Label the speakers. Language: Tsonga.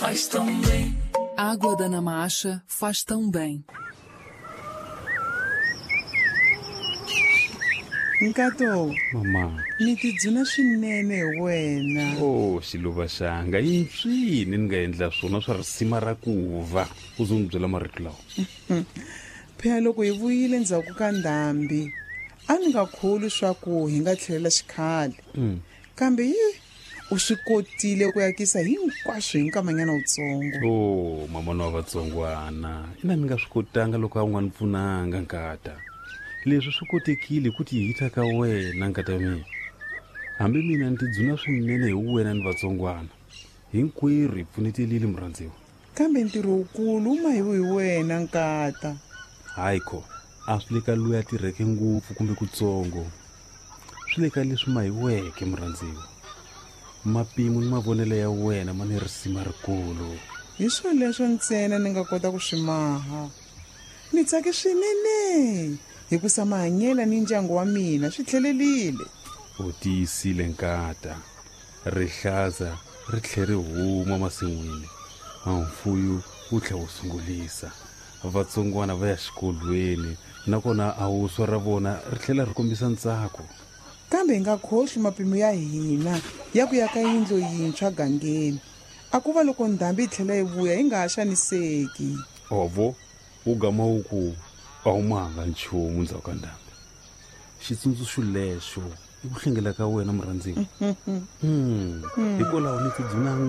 Speaker 1: Faz tão bem. Água da Namacha faz tão bem.
Speaker 2: Nkato,
Speaker 3: Mama.
Speaker 2: Ni tidzuna swinene hi wena.
Speaker 3: Oh, xiluva xanga, i mpsini ni nga endla swona swa risima ra ku va u zo ni byela marito lawa.
Speaker 2: Phela loko hi vuyile ndzhaku ka ndhambi, a ni nga kholwi swa ku hi nga tlhelela xikhale. Kambe yi u swi kotile ku yakisa hinkwaswo hi nkamanyana wutsongo.
Speaker 3: Oh, mama wa vatsongwana, ina ni nga swi kotanga loko a wu nga ni pfunanga nkata. Leswi swi kotekile hi ku tihita ka wena nkata mina. Hambi mina ni tidzuna swinene hi wena ni vatsongwana. Hinkwerhu hi pfunetelile murhandziwa.
Speaker 2: Kambe ntirho wukulu wu mahiwe hi wena nkata.
Speaker 3: Hayi kho, a swi le ka loyi a tirheke ngopfu kumbe kutsongo. Swi le ka leswi mahiweke murhandziwa. Mapimo ni mavonelo ya wena ma ni risima rikulu.
Speaker 2: Hi swoleswo ntsena ni nga kota ku swi maha. Ni tsake swinene hikusa mahanyela ni ndyangu wa mina swi tlhelelile.
Speaker 3: U tiyisile nkata. Rihlaza ri tlhe ri huma masin'wini. Mfuyu wu tlhe wu sungulisa. Vatsongwana va ya xikolweni nakona a wuswa ra vona ri tlhela ri kombisa ntsako.
Speaker 2: Kambe hi nga khohlwi mapimo ya hina ya ku ya ka yindlu yintshwa gangeni. A ku va loko ndhambi yi tlhela yi vuya hi nga ha xaniseki.
Speaker 3: Ovo wu gama wu ku a wu mahanga nchumu ndzhaku ka ndhambi. Xitsundzuxo lexo i ku hlengela ka wena murhandziwa. Hikwalaho ni tidzuna.